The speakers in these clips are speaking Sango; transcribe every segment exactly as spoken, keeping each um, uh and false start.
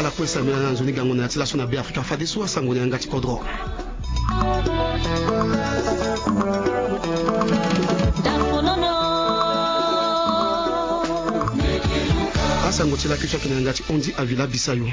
Lakue sambela na nzoni gango na ya ti laso na Be Afrika fadeso asango na yanga ti kodro. Asango ti laki ti ake na yanga ti Ondi Avila Bisayo.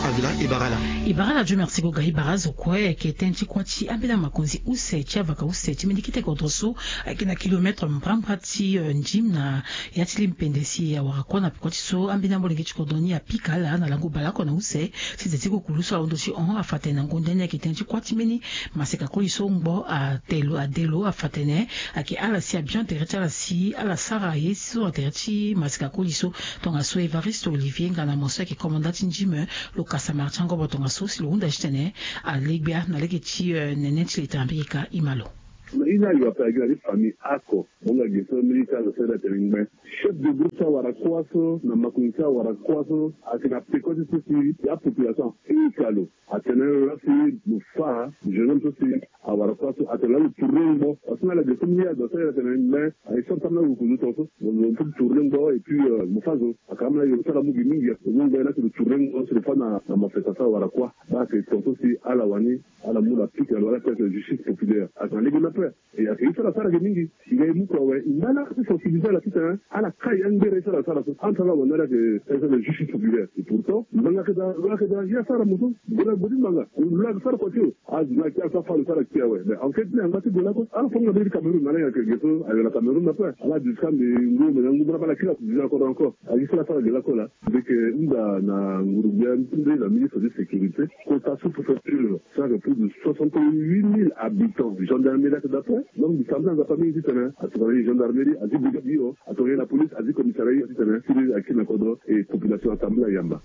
Avila, e bara ala. E bara ala, Dieu merci goga, e bara azo kue. Ayeke tënë ti kuâ ti ambeni amakonzi use ti avaka use ti mbeni kete kodro so ayeke na kilomètre mbrambra ti, eh, Ndim na ya ti limpende si awara kuâ na peko ti so ambeni amolenge ti kodro ni apika ala na lango baleoko na use ti ze ti kukulu so alondo ti hon afa tene na ngonda ni ayeke tënë ti kuâ ti mbeni maseka koli so ngbo ate lo ade lo afa tene ayeke ala si abion tere ti ala si ala sara ye so na tere ti maseka koli so. Tongaso Evariste Olivier nga na mo so ayeke komanda ti Ndim, lo kasa mara ti angobo tongaso si lo hunda titene alegbia na lege ti, eh, nene ti leta Amerika. Ima lo. Na ini ayo ape agi na ti famille ako mo nga ge so militaire so sere atene ngben. Chef de groupe so awara kuâ so na makonzi so awara kuâ so ayeke na peko ti so si ya population afika lo. Atene laa si lo fâ jeune homme so si awara kuâ so atene laa lo tourne ngbo. Parce que na ala ge so mbi ye ado so ye atene ngben aye so atambula lo kozo tongaso. Lo peut tourne ngbo et puis, euh, mo fâ zo. Aka ambeni aye lo sara mu gi mingi. Lo mu ngben laa si lo tourne ngbo si lo fâ na, na mafeta so awara kuâ. Baa ayeke tongaso si ala wani ala mu na pika lo ala tene justice populaire. Ayeke na lege ni ape. E ayeke ye so ala sara ge mingi. E ga e mu kua awe. E ngba laa ti sensibiliser ala titene ala kai angbere ye so ala sara so. Entre ala wani ala yeke tene justice populaire. Et pourtant ngbanga ayeke daa, lo ayeke daa ye asara mo so. Gode gode ngbanga lo ayeke sara kua ti lo. Azo ni ayeke ti ala so afâ lo so ala kpe awe. Mais enquête ni angba ti gue lakue. Ala fo nga mbeni ti Cameroun na ala yeke ge so ayo na Cameroun ape. Ala jusqu'à mbi ngu mbi na ngu bala bala kila déjà kodro encore. Aye so ala sara ge lakue laa. Mbi yeke hunda na nguru-gbia ti mbi na ministre ti sécurité. Kota sous-préfecture so ayeke plus de soixante-huit mille habitants. Gendarmerie ayeke daa ape. Donc mbi sambela Nzapa mingi titene atongana ye gendarmerie, azi brigade hio, atongana ye na police, azi commissariat hio titene siriri akiri na kodro et population asambela yamba.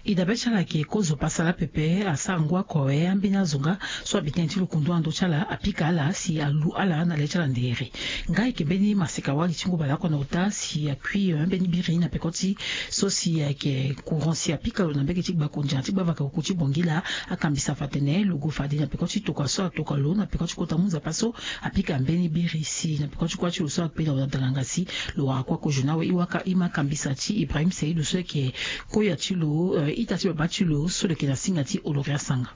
E dabe ti ala ayeke kozo pasa laa pepe, asara ngu oko awe. Ambeni azo nga so abi tënë ti lo kundu na ndö ti ala apika ala si alu ala na le ti ala ndere. Nga ayeke mbeni maseka wali ti ngu baleoko na ota si akui, eh, mbeni biri na peko ti so si ayeke courant si apika lo na mbege ti gbakondia ti gbavaka kuku ti Bangui laa akambisa afa tene lo gue fade na peko ti tokua so atoka lo na peko ti kota mu Nzapa so apika mbeni biri si na peko ti kuâ ti lo so akpe na lo na dalanga si lo wara kuâ kozo ni awe. E waka e ma kambisa ti Ibrahim Seidou so ayeke koya ti lo, eh, ita ti baba ti lo so lo yeke na singa ti Oloria Sanga.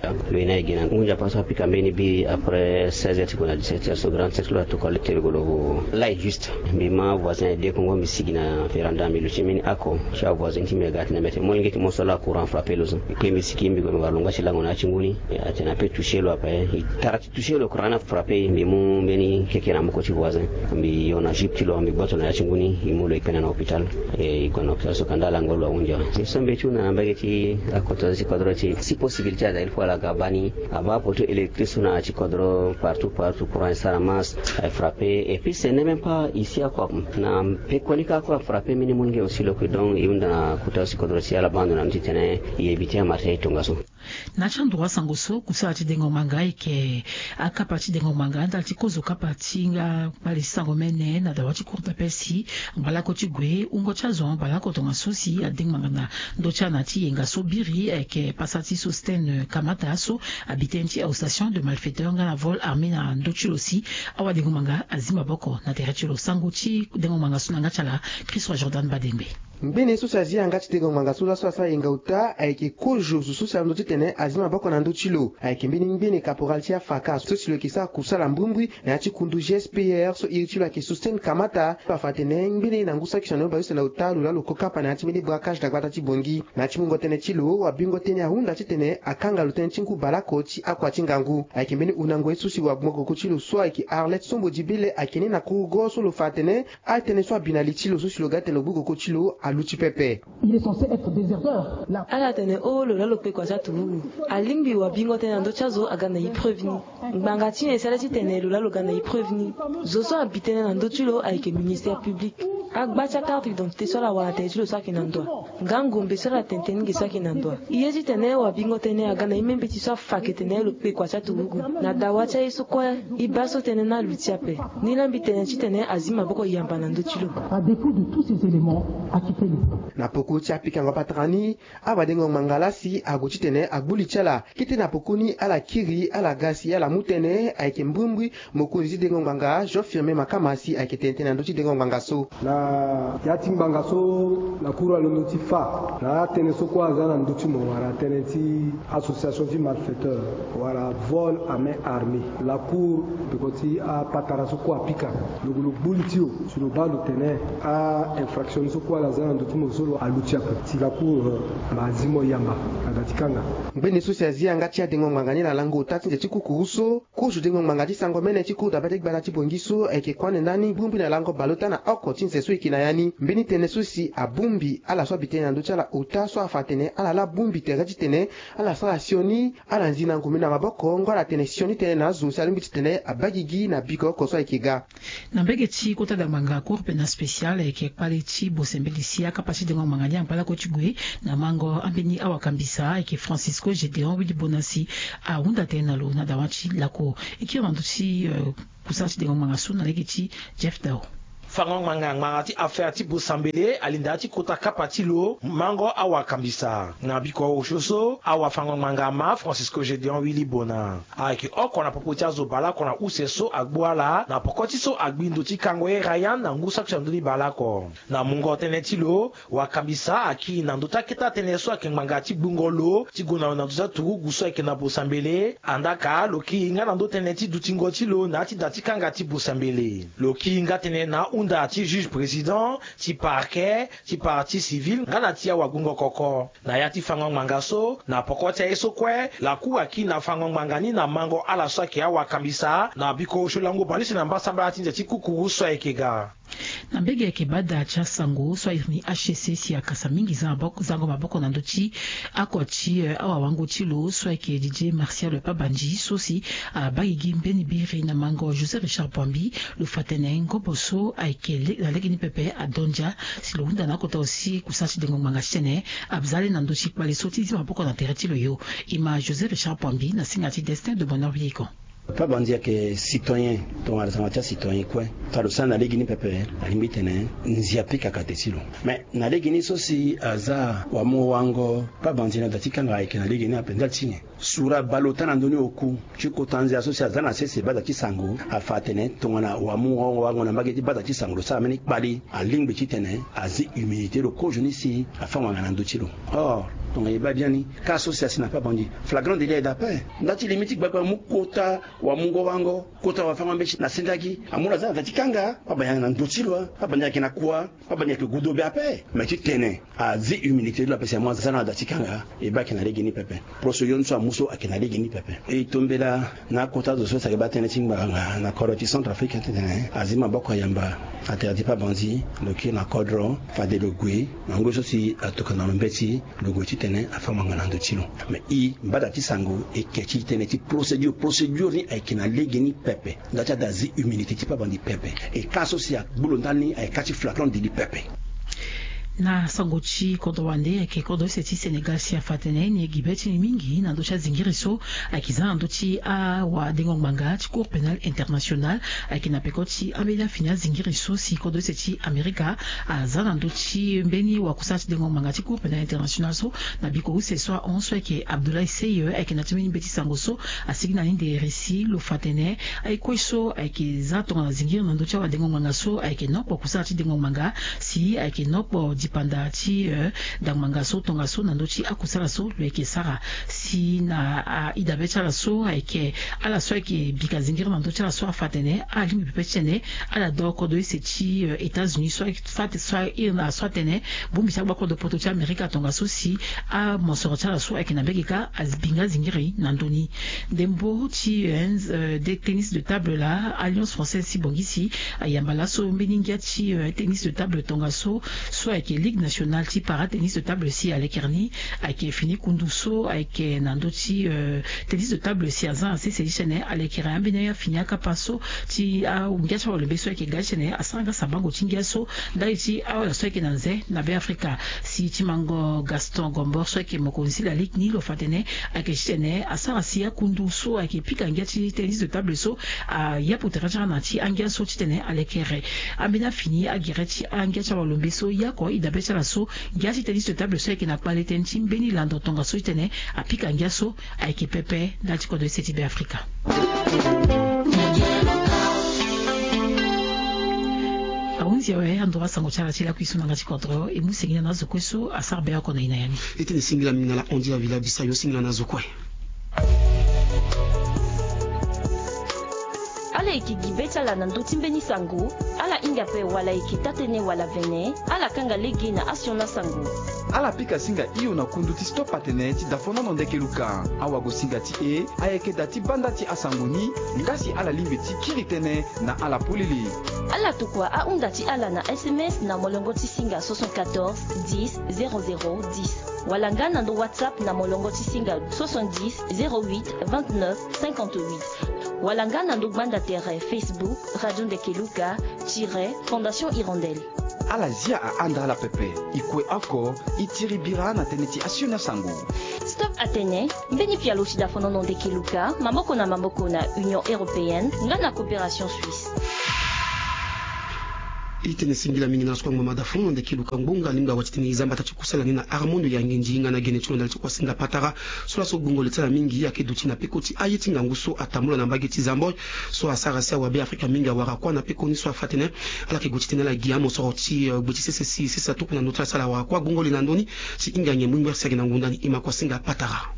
Lo ye ni aye gi na ngu Nzapa so apika mbeni biri après seize heures ti gue na dix-sept heures so grand sexe lo atoka lo ti lo lai juste. Mbi ma voisin aye de kongo mbi sigi na véranda mbi luti mbeni ako ti avoisin ti mbi aga tene mbi atene molenge ti mo so laa courant frappé lo so. Mbi kpe mbi sigi mbi gue mbi wara lo nga ti lango na ya ti ngu ni. Atene ape touché lo ape. E tara ti touché lo courant ni afrappé e, mbi mu mbeni keke na moko ti voisin. Mbi yo na jupe ti lo mbi gboto na ya ti ngu ni e mu lo e kpena na hôpital. E, e gue na hôpital so kanda lango lo ahunzi awe. So mbi ti hunda na mbage ti akota ti kodro ti si possibilité aza il faut ala ga bani abaa poteau électrique so na ya ti kodro partout partout courant e sara masse, e frappé et puis ce n'est même pas ici akua na pekoni kâ akua frappé mbeni molenge aussi lo kue. Donc e hunda na kota ti kodro ti ala baa ndo na ni titene e éviter amarché ti tongaso. Na ya ti androit sango so kusala ti dengo ngbanga ayeke akapa ti dengo ngbanga ndali ti kozo kapa ti nga kpale ti sango mene na dawa ti cour d'appel si ngbalako ti gue wungo ti azo ngbalako tongaso si adengo ngbanga na ndö ti ala na ya ti yenga so biri ayeke pasa ti Sosthène Kamata so abi tënë ti association de malfaiteurs nga na vol armé na ndö ti lo si awadengo ngbanga azi maboko na tere ti lo. Sango ti dengo ngbanga so na yanga ti ala Christ Roi Jordan Badengbe. Ngbene so si azi yanga ti dengo ngbanga so laso asara yenga ota ayeke kozo zo so si alondo titene azi maboko na ndö ti lo. Ayeke mbeni ngbene caporal ti afaka so si lo yeke sara kusala mbrimbri na ya ti kundu G S P R so iri ti lo ayeke Sosthène Kamata. Afa atene ngbene na ngu saki sioni na bale use na ota lo laa lo ko kapa na ya ti mbeni braquage na gbata ti Bangui. Na ya ti mungo tënë ti lo wabingo tënë ahunda titene akanga lo tënë ti ngu baleoko ti akua ti ngangu. Ayeke mbeni hundango ye so si wabingo koko ti lo so ayeke Arlette Sombo Dibele ayeke ni na kurugo so lo fa atene atënë so abi na li ti lo so si lo ga tene lo gbu koko ti lo aluti pepe. Il est censé être déserteur. Là. Ala tene o lo laa lo kpe kua ti aturugu. Alingbi wabingo tënë na ndö ti azo aga na épreuve ni. Ngbanga ti nyen si ala titene lo laa lo ga na épreuve ni? Zo so abi tënë na ndö ti lo ayeke ministère public. Agba ti acarte d'identité so ala wara na tere ti lo so ayeke na ndo wa? Nga ngombe so ala tene tënë ni ge so ayeke na ndo wa? E ye titene wabingo tënë aga na e membeti so afa ake tene lo kpe kua ti aturugu. Na dawa ti aye so kue e baa so tënë ni aluti ape. Ni laa mbi tene titene azi maboko yamba na ndö ti lo. À dépit de tous ces éléments, acquitter le peuple. Na poko ti apikango patara ni, awadengo ngbanga laa si ague titene agbu li ti ala. Kete na poko ni ala kiri ala ga si ala mu tënë ayeke mbrimbri mokonzi ti dengo ngbanga Jean Firmin Makama si ayeke tene tënë na ndö ti dengo ngbanga so. Ya ti ngbanga so lakour alondo ti fa na atënë so kue aza na ndö ti mo wala tënë ti association ti malfaiteur wala vol à main armée, lakour peko ti apatara so kue apika lo, lo gbu li ti lo si lo baa lo tene a-infraction ni so kue ala za na ndö ti mo so lo aluti ape si lakour ma azi mo yamba na da ti kanga. Ngbene so si azi yanga ti adengo ngbanga ni na lango ota ti nze ti kukuru so, kozo dengo ngbanga ti sango mene ti kour dabe ti gbata ti bongi so ayeke kuâ ande ndani bongbi na lango baleota na oko ti nze so e yeke na ya ni. Mbeni tënë so si abongbi ala so abi tënë na ndö ti ala ota so afa atene ala laa bongbi tere titene ala sara sioni, ala nzi na ngombe na maboko ngoi ala tene sioni tënë na azo si alingbi titene abaa gigi na biko oko so ayeke ga. Na mbege ti kota dangbanga cour pénal spécial ayeke kpale ti bosembeli si akapa ti dengo ngbanga ni angba lakue ti gue na mango ambeni awakambisa ayeke Francisco Gédéon Willy Bona si ahunda tënë na lo na dawa ti lakour. E kiri na ndö ti kusala ti dengo ngbanga so na lege ti Jeff Dao. Fango ngbanga ngbanga ti affaire ti bosambele alinda ti kota kapa ti lo mango awakambisa na biko osio so awafango ngbanga ma Francisco Gédéon Willy Bona. Ayeke oko na popo ti azo baleoko na use so agbu ala na poko ti so agbi ndo ti kango ye Ryan na ngu saki so na ndö ni baleoko. Na mungo tënë ti lo, wakambisa akiri na ndö ti akete atënë so ayeke ngbanga ti gbungo lo ti gue na lo na ndö ti aturugu so ayeke na bosambele. Andaka lo kiri nga na ndö tënë ti dutingo ti lo na ya ti da ti kanga ti bosambele. Lo kiri nga tënë na ahunda ti juge président, ti parquet, ti partie civile nga na ti awagbungo koko. Na ya ti fango ngbanga so, na poko ti aye so kue, lakour akiri na fango ngbanga ni na mango ala so ayeke awakambisa na biko osio lango baleuse na mbasambala ti nze ti kukuru so ayeke ga. Na mbege ayeke bada ti asango so airi ni H C C si akasa mingi za maboko, zango maboko na ndö ti oko ti awawango ti lo so ayeke Didier Martial Pabandji so si abaa gigi mbeni biri na mango José Richard Poambi. Lo fa tene ngobo so ayeke na legeni pepe adondia si lo hunda na akota aussi kusala ti dengo ngbanga titene aza le na ndö ti kpale so ti zi maboko na tere ti lo yo. E ma José Richard Poambi na singa ti Destin de Bonheur Vieillekon. Pabandji ayeke citoyen, tongana tongana ti acitoyen kue. Fa lo sara na legeni pepe, alingbi tene nzia pika kate ti lo. Mais na legeni so si aza wamungo wango Pabandji na da ti kanga ayeke na legeni ape ndali ti nyen? Sura baleota na ndö ni oku ti kota nzia so si aza na sese bada ti sango afa atene tongana wamungo wango na mbage ti bada ti sango lo sara mbeni kpale, alingbi titene azi humilité lo kozo ni si afâ ngbanga na ndö ti lo. Or tongana e baa biani, ka so si asi na Pabandji, flagrant délit ayeke daa ape. Nda ti limi ti gbagba mu kota wamungo wango, kota wafango mbeti na sendagi, amu lo aza na da ti kanga. Pabandji ayeke na ndö ti lo, Pabandji ayeke na kua, Pabandji ayeke gudo be ape. Mais titene azi humilité ti lo ape si amu aza na da ti kanga, e baa ayeke na legeni pepe. Procédure so amu so ayeke na legeni pepe. E tombela na akota zo so si ayeke baa tënë ti ngbanga na kodro ti Centrafrique titene azi maboko ayamba na tere ti Pabandji, lo kiri na kodro, fade lo gue na ngoi so si atokua na lo mbeti, lo gue titene afâ ngbanga na ndö ti lo. Mais e, mbada ti sango, e ke ti tënë ti procédure, procédure ni ayeke na legeni pepe. Nda ti ada azi humilité ti Pabandji pepe. E ka so si agbu lo ndani ayeke ka ti flagrant délit pepe. Na sango ti kodro wande ayeke kodro use ti Sénégal si afa atene ni gi be ti ni mingi na ndö ti azingiri so ayeke za na ndö ti awadengo ngbanga ti Cour pénale internationale. Ayeke na peko ti ambeni afini azingiri so si kodro use ti Amerika aza na ndö ti mbeni wakusala ti dengo ngbanga ti Cour pénale internationale so na biko use so ahon so ayeke Abdoulaye Seye ayeke na ti mbeni mbeti sango so asigi na ni nde resi. Lo fa atene aye kue so ayeke za tongana zingiri na ndö ti awadengo ngbanga so ayeke nokpo kusala ti dengo ngbanga si ayeke nokpo dipanda ti, eh, dangbanga so tongaso na ndö ti akusala so lo yeke sara. Si na, ah, idabe ti ala so ayeke ala so ayeke bika zingiri na ndö ti ala so afa atene alingbi pepe titene ala dö kodro use ti, eh, États-Unis so ayeke fa ate so airi na ala so atene bongbi ti agbakodro poto ti Amerika tongaso si amosoro ti ala so ayeke na mbege kâ abinga zingiri na ndö ni. Ndembo ti, eh, eh, de tennis de table laa, Alliance Française ti Bangui si ayamba laso mbeni ngia ti, eh, tennis de table tongaso so ayeke Ligue Nationale ti Para Tennis de Table si alekere ni. Ayeke fini kundu so ayeke na ndö ti, eh, tennis de table si aza na sese ti tene alekere ambeni afini akapa so ti angia ti awalombe so ayeke ga ti tene asara nga sabango ti ngia so ndali ti awala so ayeke na nze na Beafrika. Si ti mango Gaston Gombor so ayeke mokonzi ti la ligue ni lo fa atene ayeke ti tene asara si akundu so ayeke pika ngia ti tennis de table so ayapu tere ti ala na ti angia so titene alekere ambeni afini agere ti angia ti awalombe so ye oko idabe ti ala so ngia ti tennis de table so ayeke na kpale tënë ti mbeni lando tongaso titene apika ngia so ayeke pepe ndali ti kodro use ti Beafrika. Ti awe, ando asango ti ala ti lakui so na nga ti kodro e mu singila na azo kue so asara be oko na e na ya ni. E tene singila mingi na ala Andy Avila Bisayo, singila na azo kue. Ala yeke gi be ti ala na ndö ti mbeni sango. Ala hinga ape wala e yeke taa-tënë wala vene, ala kanga lege na asioni asango. Ala pika singa hio na kundu ti Stop Atene ti Dafonono Ndeke Luka. Awagosinga ti e ayeke daa ti banda ti asango ni, nga si ala lingbi ti kiri tënë na ala polele. Ala tokua ahunda ti ala na S M S na molongo ti singa soixante-quatorze dix zéro zéro dix, wala nga na ndo WhatsApp na molongo ti singa soixante-dix zéro huit vingt-neuf cinquante-huit, wala nga na ndo gbanda tere Facebook Radio Ndeke Luka tiret Fondation Hirondelle. Ala zia ahanda ala pepe. E kue oko, e tiri bira na tënë ti asioni asango. Stop Atene, mbeni pialo ti Dafonono Ndeke Luka, maboko na maboko na Union Européenne nga na Coopération Suisse. E tene singila mingi na ala so kue ngbanga Dafonono Ndeke Luka. Ngbonga alingbi awa ti tene e za mbata ti kusala ni na Armando Yangindi nga na gene ti lo ndali ti kuasinga patara. So laso gongo le ti ala mingi ayeke duti na peko ti aye ti ngangu so atambula na mbage ti Zamboi. So asara si awa Beafrika mingi awara kuâ na pekoni so afa atene ala yeke gue ti tene ala gi amosoro ti, eh, gbe ti sese si sese aturuku na ndö ti ala si ala wara kuâ. Gongo le na ndö ni si hinga nyen mbongbi si ayeke na ngonda ni. E ma kuasinga patara.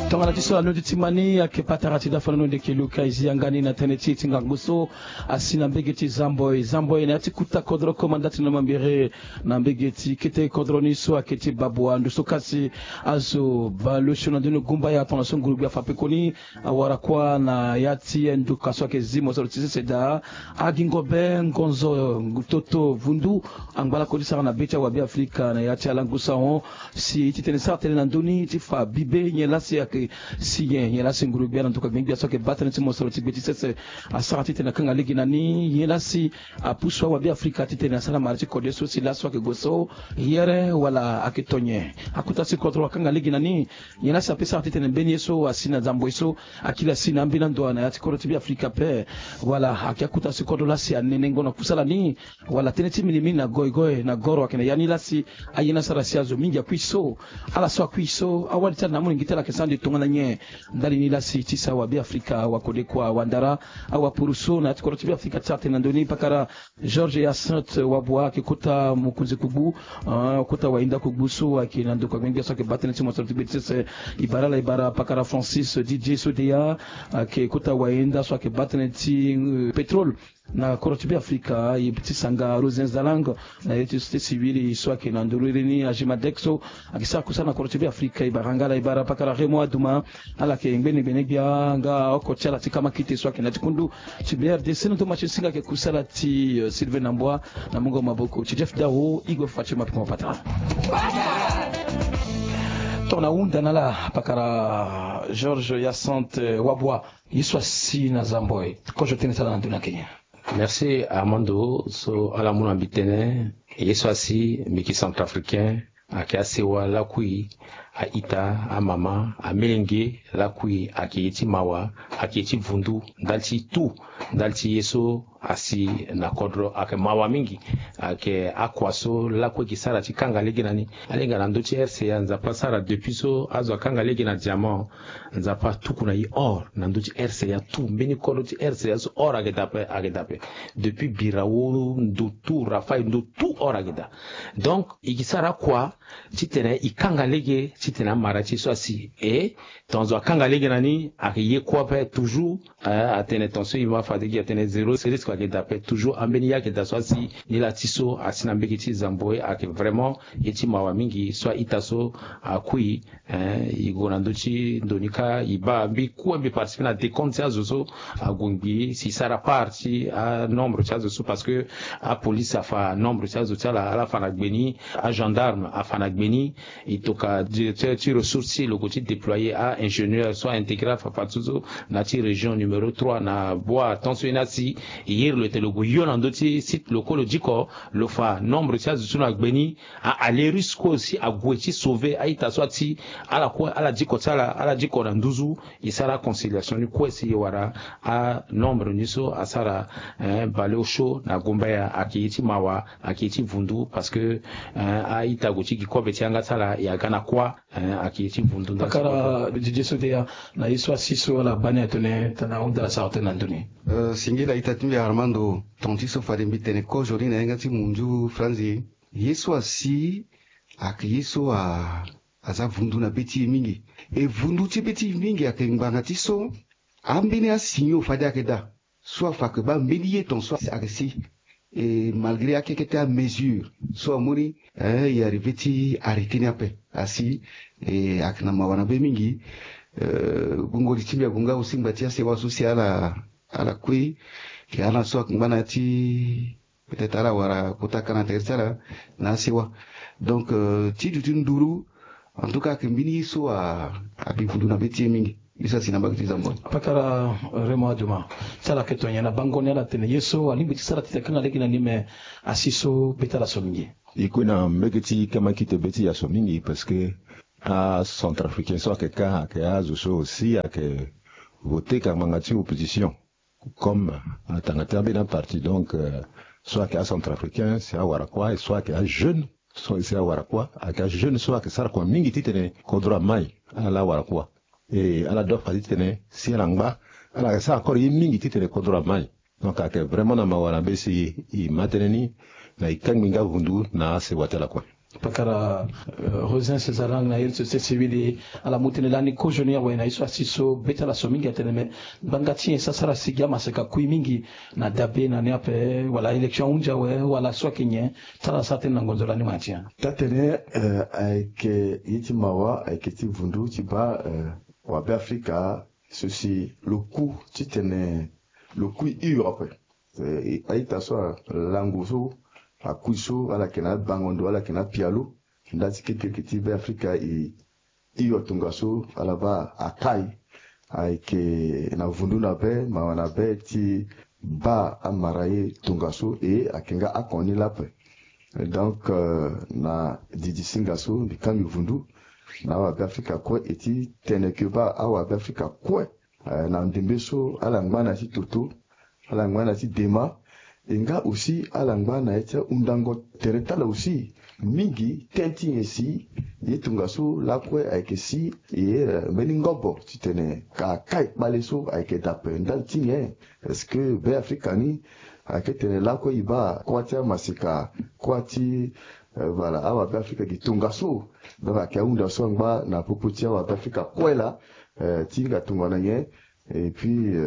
Tongana ti so alondi ti ma ni ayeke patara ti Dafonono Ndeke Luka. E zi yanga ni na tënë ti e ti ngangu so asi na mbage ti Zamboi. Zamboi na ya ti kota kodro, komanda ti na mambere na mbage ti kete kodro ni so ayeke ti Babua. Ndo so kasi azo bale osio na ndoni gumbaya tongaso ngurugbi afa pekoni awara kuâ na ya ti nduka so ayeke zi mosoro ti sese daa. Agingo be ngonzo toto vundu angba lakue ti sara na be ti awa Beafrika na ya ti alangu sahon. Si e ti tene sara tënë na ndö ni ti fa bibe nyen laa si ayeke si nyen, nyen laa si ngurugbi na nduka gbengbi so ayeke baa tënë ti mosoro ti gbe ti sese asara ti tene akanga lege na ni, nyen laa si apusu awa Beafrika ti tene asara mara ti kode so si laso ayeke gue so yere wala ayeke to nyen. Akota si kodro akanga lege na ni, nyen laa si ape sara ti tene mbeni ye so asi na Zamboi so akiri asi na ambeni ando na ya ti kodro ti Beafrika ape. Wala ayeke akota si kodro laa si anenengo na kusala ni, wala tënë ti minimini na goigoi na goro ayeke na ya ni laa si aye ni asara si azo mingi akui so. Ala so akui so, awali ti ala na amolenge ti ala ayeke sara ande tongana nyen? Ndali ni laa si ti sa awa Beafrika, awa kode kua, awa ndara, awa puru so na ya ti kodro ti Beafrika ti sara tënë na ndö ni. Pakara Georges Hyacinthe Wabua ayeke kota mokonzi kugbu, ah, kota wayenda kugbu so ayeke na ndokua gbengbe so ayeke baa tënë ti mosoro ti gbe ti sese. E bara ala, e bara pakara Francis Didier Sodeya, ayeke kota wayenda so ayeke baa tënë ti, euh, pétrole na kodro ti Beafrika. E ti sanga Rosin Zalang na ye ti société civile so ayeke na nduru iri ni, Agimadex so ayeke sara kusala na kodro ti Beafrika. E bara nga ala, e bara pakara Raymond Adouma, ala yeke ngbene gbene gbia nga oko ti ala ti kamakite so ayeke na ya ti kundu ti B R D C. Na ndo ma ti singa ayeke kusala ti, euh, Sylvain Nambua na mungo maboko ti Jeff Dao. Igwe fa ti ma peko ma patara. Tongana ahunda na ala pakara Georges Hyacinthe Wabua, ye so asi na Zamboi, kozo tënë ti ala na ndö ni ayeke nyen? Merci Armando. So ala mu na mbi tënë, ye so asi mbi yeke centrafricain, ayeke asewa lakui, a-ita, amama, amelenge lakui, ayeke ye ti mawa, ayeke ye ti vundu ndali ti tout, ndali ti ye so asi na kodro ayeke mawa mingi. Ayeke akua so lakue yeke sara ti kanga lege na ni. Alinga na ndö ti R C A, Nzapa asara depuis so azo akanga lege na diamant, Nzapa atuku na e or na ndö ti R C A tout. Mbeni kodro ti R C A so or ayeke daa ape, ayeke daa ape. Depuis Birao, ndo tout, Rafael, ndo tout or ayeke daa. Donc e yeke sara akua titene e kanga lege titene amara ti e so asi. E tongaso akanga lege na ni, ayeke ye kue ape toujours. Eh, atene tongaso e ma fade gi atene zéro risque ayeke daa ape. Toujours ambeni ye ayeke daa so asi. Nilaa ti so asi na mbage ti Zamboi ayeke vraiment ye ti mawa mingi so a-ita so akui. Eh, e gue na ndö ti ndo ni kâ, e baa mbi kue mbi participer na décompte ti azo so ague ngbii, si e sara part ti anombre ti azo so, parce que apolice afa nombre ti azo ti ala, ala fa na gbe ni, agendarme afa na gbe ni. E tokua directeur ti ressource ti e lo gue ti déployer a-ingénieur so a-intégrer afafa ti so na ya ti région numéro trois na Boa. Tant so ye ni asi, e iri lo ete lo gue yo na ndö ti site lo kue lo diko. Lo fa nombre ti azo so na gbe ni, a alerus kue aussi ague ti sauver a-ita so ati ala kue ala diko ti ala ala diko na nduzu. E sara conciliation ni kue si e wara anombre ni so asara baleosio na gumbaya ayeke ye ti mawa, ayeke ye ti vundu parce que a-ita ague ti gi kobe ti yanga ti ala e aga na kuâ. Ayeke ye ti vundu nda. Pakara Didier Sodeya, na ye so asi so ala baa ni atene tana ahunda ala sara tënë na ndö ni. Singila ita ti mbi Armando, tonga ti so fade mbi tene kozo ni na yanga ti munzu franzi. Ye so asi ayeke ye so a aza vundu na be ti e mingi. E vundu ti be ti e mingi ayeke ngbanga ti so ambeni asigno fade ayeke daa so afa ayeke baa mbeni ye ton so ayeke si. E malgré akekete amesure so amu ni, e arrivé ti arrêté ni ape. Asi e ayeke na mawa na be mingi. Gungo li ti mbi ague nga aussi ngba ti asewa so si ala ala kue. Ke ala so ayeke ngba na ya ti peut-être ala wara kota ka na tere ti ala na asewa. Donc ti duti nduru, en tout cas ayeke mbeni ye so abi vundu na be ti e mingi. Ye so asi na mbage ti zamboi. Pakara Raymond Aduma, ti ala yeke to nyen na bango ni? Ala tene ye so alingbi ti sara titene akanga lege na ni, me asi so be ti ala so mingi. E kue na mbege ti kamakite be ti e aso mingi parce que acentrafricain so ayeke ka ayeke azo so aussi ayeke voté ka ngbanga ti opposition. Comme atanga ti ambeni aparti, donc so ayeke acentrafricain si awara kuâ, e so ayeke ajeune so si awara kuâ, ayeke ajeune so ayeke sara kua mingi titene kodro amai ala wara kuâ. E ala dua fa titene si ala ngba, ala yeke sara encore ye mingi titene kodro amai. Donc ayeke vraiment na mawa na be si e ma tënë ni na e kangbi nga vundu na asewa ti ala kue. Pakara Rosin César Lang na ye ti société civile, ala mu tënë lani kozo ni awe na ye so asi so be ti ala so mingi atene me ngbanga ti nyen so asara si gi amaseka kui mingi na dabe na ni ape, wala élection ahunzi awe, wala so ayeke nyen? Ti ala sara tënë na ngonzo lani ma ti nyen? Taa-tene ayeke ye ti mawa, ayeke ti vundu ti baa wabe afrika so si lo ku titene lo kui hio ape. A-ita so alango so akui so ala yeke na abango ndo, ala yeke na apialo. Nda ti kekereke ti be afrika e hio tongaso ala baa akai. Ayeke na vundu na be, mawa na be ti baa amara ye tongaso e ayeke nga akon ni lape. Donc na didi singa so mbi kangbi vundu na awabe afrika kue e ti tene ke baa awabe afrika kue na ndembe so ala ngba na ya ti toto, ala ngba na ya ti dema. E nga aussi ala ngba na ya ti ahundango tere ti ala aussi mingi. Tënë ti nyen si ye tongaso lakue ayeke si e mbeni ngobo titene ka kai kpale so ayeke dape ndali ti nyen? Est-ce que be afrika ni ayeke tene lakue e baa kuâ ti amaseka, kuâ ti voilà awabe afrika gi tongaso? Donc ayeke ahunda so angba na popo ti awabe afrika kue laa ti hinga tongana nyen? Et puis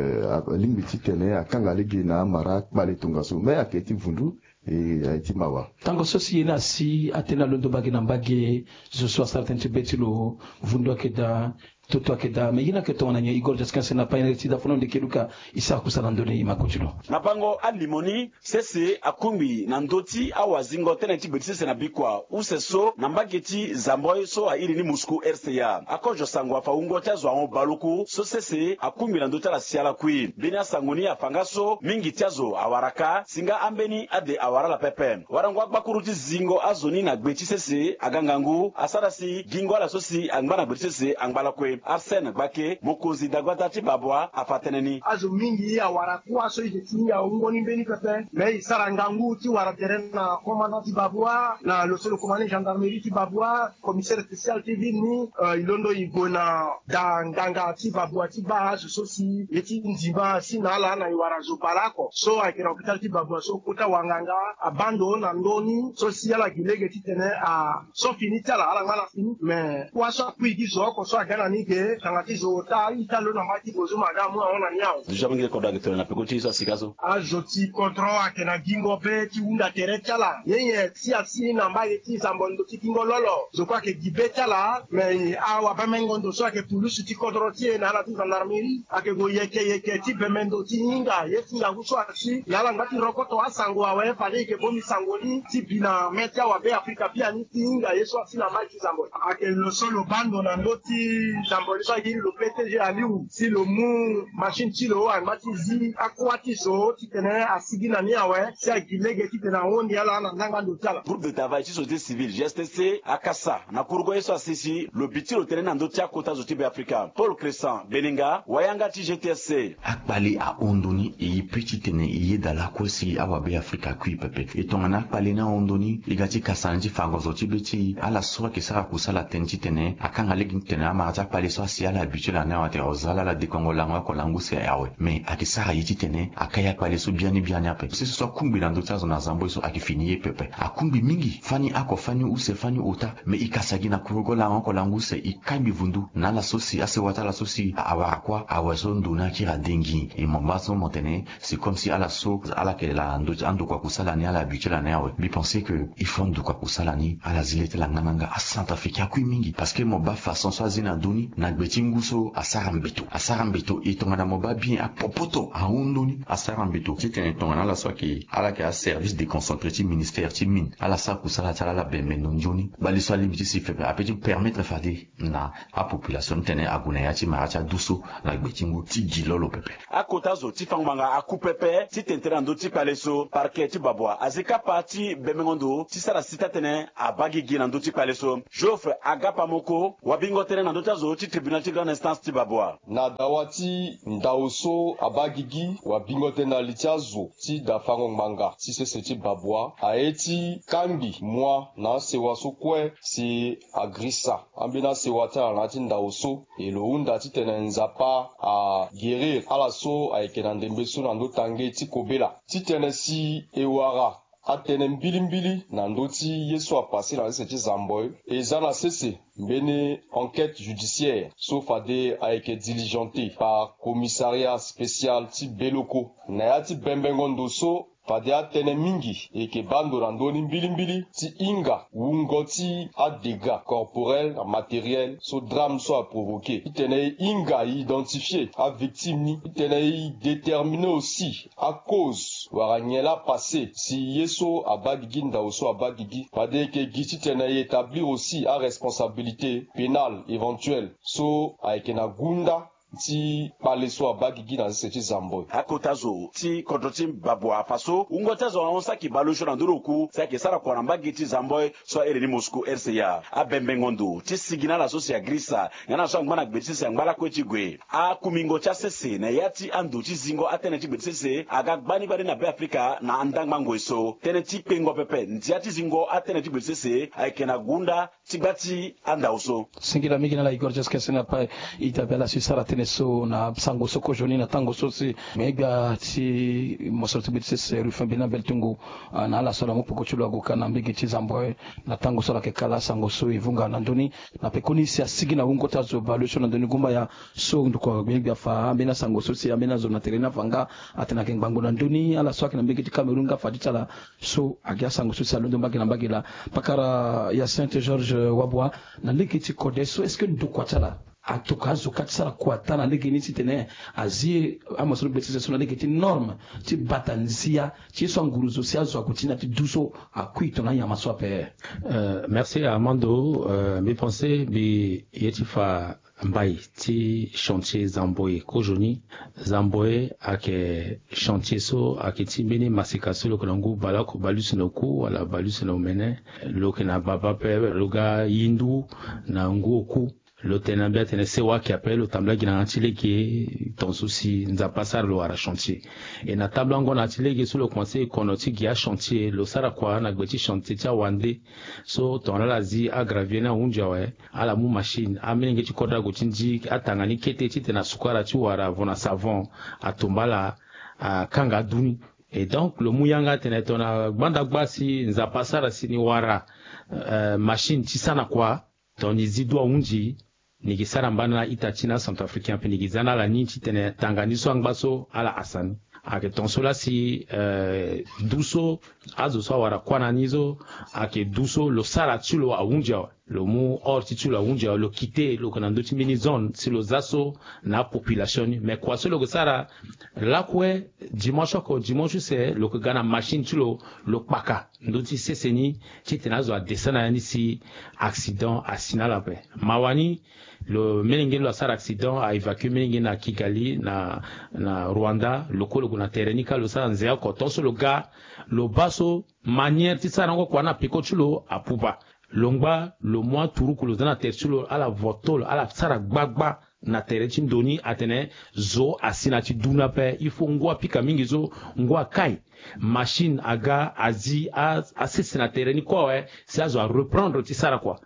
alingbi titene akanga lege na amara akpale tongaso, me ayeke ti vundu. E aye ti mawa. Tango so si ye ni asi atene alondo mbage na mbage, zo so asara tënë ti be ti lo, vundu ayeke daa, toto ayeke daa, me ye ni ayeke tongana nyen? Igor Jaskin Sena, payen ti dafono ndeke luka, e sara kusala na ndö ni, e ma ko ti lo. Na bango alimo ni, sese akungbi na ndö ti awazingo tënë ti gbe ti sese na bikua use so na mbage ti zamboi so airi ni Moscou R C A. Akozo sango afa wungo ti azo ahon baleoko so sese akungbi na ndö ti ala si ala kui. Mbeni asango ni afa nga so mingi ti azo awara ka, si nga ambeni ade awara ala pepe. Warango agbakuru ti zingo azo ni na gbe ti sese aga ngangu asara si gingo ala so si angba na gbe ti sese angba lakue. Arsène Gbake, mokonzi dagbata ti Babwa, afa tënë ni. Azo mingi awara kuâ so e yeke ti hinga wungo ni mbeni pepe. Me e sara ngangu ti wara tere na commandant ti Babwa, na lo so lo commandant gendarmerie ti Babwa, commissaire spécial ti ville ni, e londo e gue na da nganga ti Babwa ti baa azo so si ye ti ndima asi na ala na e wara zo baleoko so ayeke na hôpital ti Babwa so kota wanganga abaa ndo na ndö ni so si ala gi lege titene a so fini ti ala, ala ngba na fini. Me kuâ so akui gi zo oko so aga na ni ge, tanga ti zo ota ita lo na mbage ti Bozuma aga amu ahon na ni awe. Déjà mingi kodro ayeke tene na peko ti ye so asika so. Azo ti kodro ayeke na gingo be ti hunda tere ti ala. Nyenye si asi na mbage ti Zamboi ndo ti gingo lolo, zo kue ayeke gi be ti ala. Me awabe mengo ndo so ayeke pulusu ti kodro ti e na ala ti gendarmerie ayeke gue yeke yeke ti bembe ndo ti hinga ye ti ngangu so asi. Na ala ngba ti rokoto asango awe fade e yeke bongbi sango ni ti bi na mê ti awabe afrika biani ti hinga ye so asi na mbage ti Zamboi. Ayeke lo so lo baa ndo na ndö ti Mboli so a yiri lo P T G Aliou si lo mu machine ti lo angba ti zi akua ti so titene asigi na ni awe si agi lege titene ahon ni ala na ndangba ndo ti ala. Groupe de travail ti société civile, G S T C, akasa na kurugo ye so asi si lo bi ti lo tene na ndö ti akota zo ti Beafrika. Paul Crescent Beninga, wayanga ti G T S C. Akpale ahon ndo ni, e ye pe titene e yeda lakue si awabe Afrika akui pepe. E tongana akpale ni ahon ndo ni, e ga ti kasa na ni ti fango zo ti be ti e. Ala so ayeke sara kusala tënë titene akanga lege ni titene amara ti akpale so asi ala habitué na ni awe atene o za ala ala dekongo lango oko lango use awe. Me ayeke sara ye titene akai akpale so biani biani ape. Sese so akungbi na ndö ti azo na Zamboi so ayeke fini ye pepe. Akungbi mingi, fani oko, fani use, fani ota. Me e kasa gi na kurugo lango oko lango use, e kai mbi vundu na ala so si asewa ti ala so si awara kuâ awe so ndo ni akiri adengi. E mo baa so mo tene c'est comme si ala so ala yeke la ndö ti andokua kusala ni, ala habitué na ni awe. Mbi pensé que il faut andokua kusala ni ala zi le ti ala ngananga. Acentrafricain akui mingi parce que mo baa façon so azi na ndö ni na gbe ti ngu so asara mbeto, asara mbeto. E tongana mo baa bien apopoto ahon ndo ni asara mbeto titene tongana ala so ayeke, ala yeke aservice déconcentré ti ministère ti mine, ala sara kusala ti ala, ala bembe ndo nzoni. Bale so alingbi ti si pepe ape ti permettre fade na apopulation titene ague na ya ti mara ti adu so na gbe ti ngu ti gi lo lo pepe. Akota zo ti fango ngbanga aku pepe titene tënë na ndö ti kpale so. Parquet ti Babwa azi kapa ti bembengo ndo ti sara si taa-tënë abaa gigi na ndö ti kpale so. Geoffrey Agapamoko, wabingo tënë na ndö ti azo ti tribunal ti grande instance ti Babwa. Na dawa ti ndao so abaa gigi, wabingo tënë na li ti azo ti da fango ngbanga ti sese ti Babwa aye ti kangbi mua na asewa so kue si agrisa ambeni asewa ti ala na ya ti ndao so. E lo hunda titene Nzapa aguérir ala so ayeke na ndembe so na ndö ti tange ti kobela. Titene si e wara atënë mbilimbili na ndö ti ye so apase na sese ti Zamboi, e za na sese mbeni enquête judiciaire so fade ayeke diligenté par commissariat spécial ti Beloko. Na ya ti bembengo ndo so, fade atënë mingi e yeke baa ndo na ndö ni mbilimbili ti hinga wungo ti adégâts corporels na matériels so drame so aprovoqué. Titene e hinga e identifié avictime ni. Titene e déterminé aussi acause wala nyen laa apase si ye so abaa gigi, ndao so abaa gigi. Fade e yeke gi titene e établir aussi aresponsabilité pénale éventuelle so ayeke na gunda ti kpale so abaa gigi na sese ti Zamboi. Akota zo ti kodro ti Babwa afa so wungo ti azo ahon saki baleosio na ndö ni oku si ayeke sara kua na mbage ti Zamboi so a iri ni Moscou R C A. Abembengo ndo ti sigi na ala so si agrisa nga na ala so angba na gbe ti sese angba lakue ti gue. Akumingo ti asese na ya ti ando ti zingo atënë ti gbe ti sese aga gbani gbani na Beafrika na andangba ngoi so. Tënë ti kpengo pepe ndia ti zingo atënë ti gbe ti sese ayeke na gunda ti gba ti andao so. Singila mingi na ala Igor Jeskes na apai e dabe ala si sara tënë so na sango so kozoni na tango so si me gbia ti mosoro ti gbe ti sese Rufin Bena Beltungu, ah, na ala so ala mu poko ti lo ague ka na mbage ti Zamboi na tango so ala yeke kala sango so e vunga na ndö ni. Na pekoni si asigi na wungo ti azo baleosio na ndö ni gumbaya so ndokua me gbia afa ambeni asango so si ambeni azo na tere ni afa nga atene ayeke ngbangbo na ndö ni. Ala so ayeke na mbage ti Cameroun nga afa ti ti ala so agi asango so si alondo mbage na mbage laa. Pakara Hyacinthe Georges Wabua, na lege ti kode so est-ce que ndokua ti ala atokua azo ka ti sara kua taa na lege ni titene azi amosoro gbe ti sese so na lege ti norme ti bata nzia ti ye so anguru zo si azo ague ti ni na ti du so akui tongana anyama so ape? Euh, merci Armando. Euh, mbi pense mbi ye ti fa mbai ti chantier Zamboi kozoni. Zamboi ayeke chantier so ayeke ti mbeni maseka so lo yeke na ngu baleoko baleuse na oku wala baleuse na omene. Lo yeke na baba ape lo ga yindu na ngu oku. Lo tene na mbi atene sewa ayeke ape lo tambula gi na yanga ti lege. Tongaso si Nzapa asara lo wara chantier. E na tambula ngonda ti lege so lo komanse e kono ti gi achantier lo sara kua na gbe ti chantier ti awande. So tongana ala zi agravier ni ahunzi awe, ala mu machine, amolenge ti kodro ague ti ndi atanga ni kete titene asukara ti wara avon na savon, atumba ala, akanga adu ni. Et donc lo mu yanga atene tongana gbanda gba si Nzapa asara si ni wara, euh, machine ti sara kua, tongana ni zi du ahunzi, ni yeke sara mbana na a-ita ti ni acentrafricain ape, ni yeke za na ala ni titene tanga ni so angba so ala hasa ni. Ayeke tongaso laa si, euh, du so azo so awara kuâ na ni so ayeke du so lo sara ti lo ahunzi awe. Lo mu or ti ti lo ahunzi awe, lo kite lo yeke na ndö ti mbeni zone si lo za so na apopulation ni. Me kua so lo yeke sara lakue, dimanche oko dimanche use lo yeke ga na machine ti lo, lo kpaka ndö ti sese ni titene azo adescend na ya ni si accident asi na ala ape. Mawa ni Lo melenge lo asara accident, a évacuer melenge na Kigali, na, na Rwanda. Lo kue lo gue na tere ni ka, lo sara nze oko. Tant so lo ga, lo baa so manière ti sara yango kua na peko ti lo apupa. Lo ngba, lo mu aturuku, lo za na tere ti lo, ala voto lo, ala sara gbagba na tere ti ndo ni, atene zo asi na ti du ni ape. Il faut ngu apika mingi so, ngu akai. Machine aga, azi, a, asese na tere ni kue awe, si azo areprendre ti sara kua.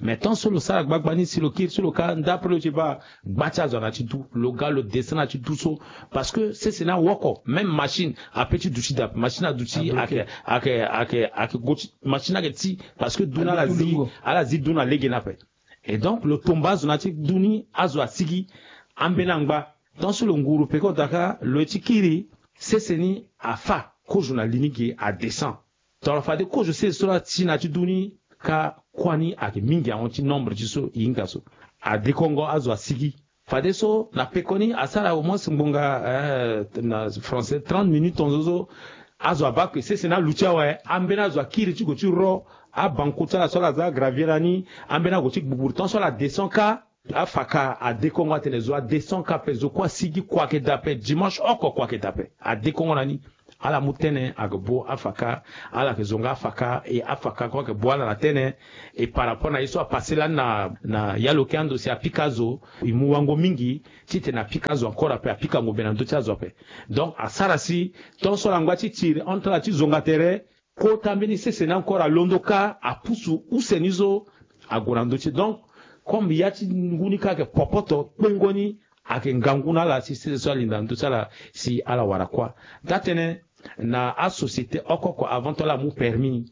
Mais tant so lo sara gbagba ni, si lo kiri so lo ka, ndapre lo ti baa, gba ti azo ana ti du, lo ga lo descend na ti du so, parce que sese ni awa oko, même machine ape ti duti dape, machine aduti, ake, ake, ake, ake go ti, machine ake ti, parce que du ni ala zi, ala zi du na lege ni ape. Et donc, lo tomba azo na ti du ni, azo asigi, ambeni angba. Tant so lo nguru peko daka, lo ye ti kiri, sese ni afa, kozo na li ni ge adescend. Tongana fade kozo sese so la ti na ti du ni ka, kua ni ayeke mingi ahon ti nombre ti so e hinga so. Adekongo, azo asigi. Fadeso na pekoni asara au moins ngbonga, eh, na français, trente minutes tongaso so, azo abaa ke sese ni aluti awe, ambeni azo akiri ti gue ti ro, abanku ti ala so ala za gravier lani, ambeni ague ti gbugburu. Tant so ala descend ka, afaka adekongo atene zo adescend ka ape, zo kue asigi, kua ayeke daa ape, dimanche oko kua ayeke daa ape. Adekongo na ni. Ala mu tene ayeke bo afaka, ala yeke zo nga afaka, e afaka kue ayeke bo ala na tene. Et par rapport na ye so apasse lani na, na ya lo ke ando si apika azo, e mu wango mingi titene apika azo encore ape, apika ngombe na ndö ti azo ape. Donc asara si tant so ala ngba ti tiri entre ala ti zonga tere, kota mbeni sese ni encore alondo ka, apusu use ni so ague na ndö ti. Donc comme ya ti ngu ni ka ayeke popoto, kpengo ni ayeke ngangu na ala si sese so alinda na ndö ti ala si ala wara kuâ. Taa-tënë na asociété oko oko, avant ti ala mu permis,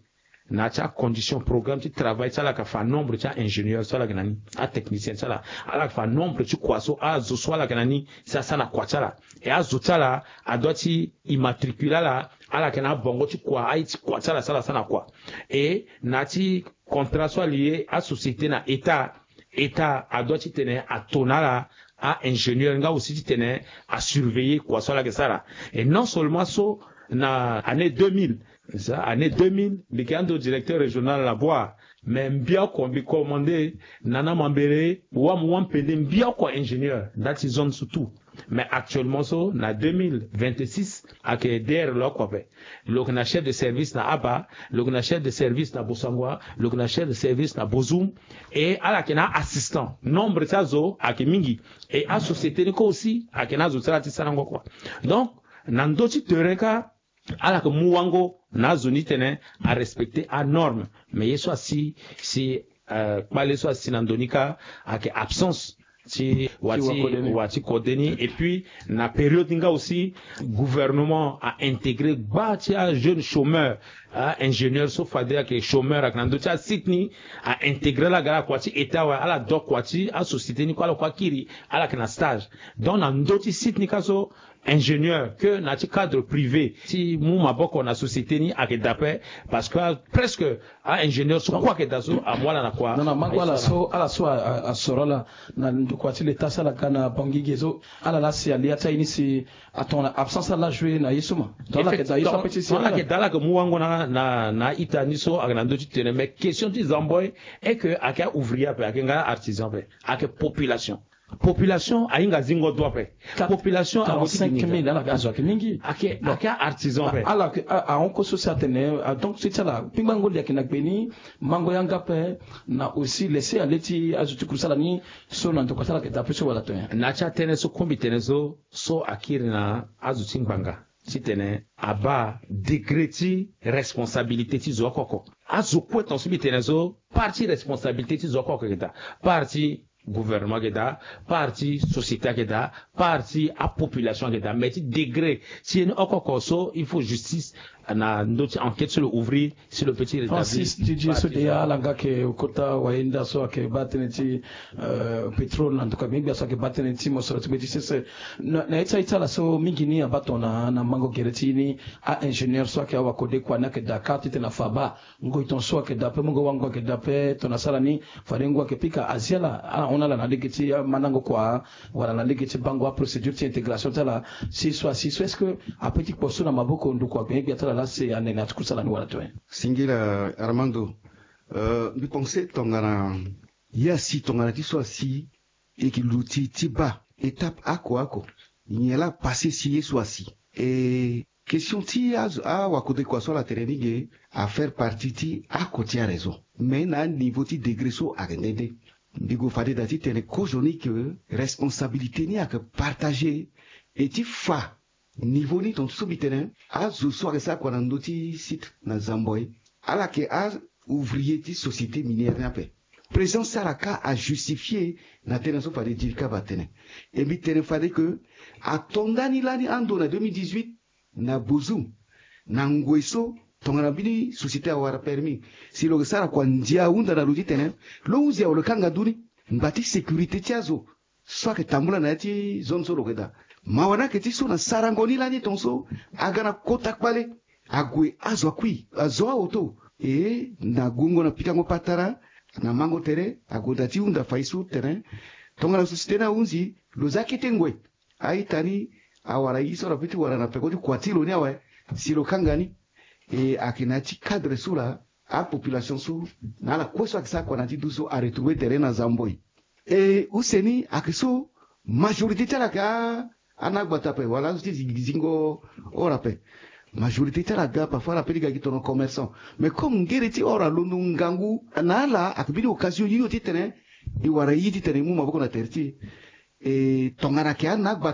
na ya ti acondition, programme ti travail ti ala, ayeke fa nombre ti a-ingénieur so ala yeke na ni, atechnicien ti ala, ala yeke fa nombre ti kua so, azo so ala yeke na ni si asara na kua ti ala. E azo ti ala adua ti immatriculer ala, ala yeke na abongo ti kua, aye ti kua ti ala si ala sara na kua. E na ya ti contrat so alie asociété na État, État adua titene ato na ala a-ingénieur nga aussi titene asurveiller kua so ala yeke sara. Et non seulement so, na année deux mille, sa année deux mille mbi yeke ando directeur régional na Bouar, mais mbi oko mbi commandé na na mambere wâ mu wâ mpende, mbi oko ingénieur ndali ti zone so tout. Mais actuellement so, na deux mille vingt-six, ayeke D R lo oko ape. Lo yeke na chef de service na Aba, lo yeke na chef de service na Bossangoa, lo yeke na chef de service na Bozoum. Et ala yeke na assistant. Nombre ti azo ayeke mingi. Et asociété ni kue aussi ayeke na azo ti ala ti sarango kua. Donc na ndö ti terrain ka, ala yeke mu wango na azo ni titene arespecter anorme. Mais ye so asi, si, euh, kpale so asi na ndo ni ka, ayeke absence ti wa ti, wa ti kode ni. Et puis na période ni nga aussi, gouvernement a intégré gba ti ajeune chômeur, a-ingénieur so fade ayeke chômeur, ayeke na ndö ti asite ni, a intégré ala ga na kua ti État awe, ala do kua ti asociété ni kue, ala kue akiri, ala yeke na stage. Donc na ndö ti site ni ka so, ingénieur ke na ya ti cadre privé ti mu maboko na société ni ayeke daa ape, parce que presque a-ingénieur so kue ayeke daa so amu ala na kua. Non, non, mango ala so, ala so a, a, asoro ala na ndokua ti l'État so ala ga na Bangui ge so, ala laa si alia ti aye ni si atongana absence ala la jouer na ye so ma. Donc ala yeke daa ye so ape ti si ala yeke daa, ala yeke mu wango na, na, na a-ita ni so ayeke na ndö ti tene. Mais question ti zambo est que ayeke a-ouvrier ape, ayeke nga artisan ape, ayeke population. Population ahinga zingo do ape. Population ahinga zingo do ape. Quarante-cinq mille, ala yeke azo ayeke mingi. Ayeke, ayeke artisan ape. Ala yeke, a, ahon kue so si atene, a, donc so ti ala kpingbango li ayeke na gbe ni, mango yanga ape, na aussi laisser aller ti azo ti kurusala ni so na ndokua ti ala ayeke daa ape so wala to nyen? Na ya ti atënë so kue mbi tene so, so akiri na azo ti ngbanga titene abaa degré ti responsabilité ti zo oko oko. Azo kue tonga so mbi tene so, part ti responsabilité ti zo oko oko ayeke daa. Part ti gouvernement ayeke daa, part ti société ayeke daa, part ti apopulation ayeke daa. Mais ti degré ti ye ni oko oko so, il faut justice na ndö ti enquête so lo ouvrir, si lo peut ti rétablir. Francis Didier so deya ala nga ayeke kota wayenda so ayeke baa tënë ti, euh, pétrole na ndokua gbengbe gbia so ayeke baa tënë ti mosoro ti gbe ti sese. Na, na ye ti aye ti ala so mingi ni abaa tongana na mango gere ti ni, a-ingénieur so ayeke awakode kua ni ayeke daa ka titene afa baa ngoi tongaso ayeke daa ape, mungo wango ayeke daa ape, tongana asara ni fade ngu ayeke pika azi ala, ala hon na ala na lege ti mandango kua wala na lege ti bango aprocédure ti intégration ti ala. Si so asi so, est-ce que ape ti kpo so na maboko ndokua gbengbe gbia ti ala laa si ane na ya ti kusala ni wala to nyen? Singila Armando, euh, mbi pense tongana ye asi, tongana ti so asi e ke luti ti baa étape oko oko. Nyen laa apasse si ye so asi? E question ti azo awakodeko aso ala tene ni ge afaire partie ti oko ti araison, mais na aniveau ti degré so ayeke nde nde. Mbi gue fade daa titene kozoni ke responsabilité ni ayeke partagé. E ti fa niveau ni tontu so mbi tene azo so ayeke sara kua na ndö ti site na zamboi, ala yeke aouvrier ti société minière ni ape. Présence ti ala kâ ajustifie na tënë so fade dirkab atene. E mbi tene fade ke ato ndani lani ando na deux mille dix-huit na bozu na ngoi so tongana mbeni société awara permis si lo yeke sara kua ndia ahunda na lo titene lo hunzi awe lo kanga ndu ni. Ngba ti sécurité ti azo so ayeke tambula na ya ti zone so lo yeke daa. Mawa ni ayeke ti so na sarango ni lani tongaso aga na kota kpale ague azo akui azo aoto. E na guengo na pikango patara na mango tere ague daa ti hunda fai so tene tongana société ni ahunzi lo za kete ngoi. A-ita ni awara ye so ala pe ti wara na peko ti kua ti lo ni awe si lo kanga ni. E ayeke na ya ti cadre so laa apopulation so na ala kue so ayeke sara kua na ya ti du so aretrouve tere na zamboi. E use ni ayeke so majorité ti ala ayeke a anagbata ape wala azo ti zingo or ape. Majorité ti ala aga parfois ala pe ti ga gi tono commerçant. Mais comme ngere ti or alondo ngangu na ala ayeke mbeni occasion hio titene e wara ye titene e mu maboko na tere ti e. E tongana ayeke anagbata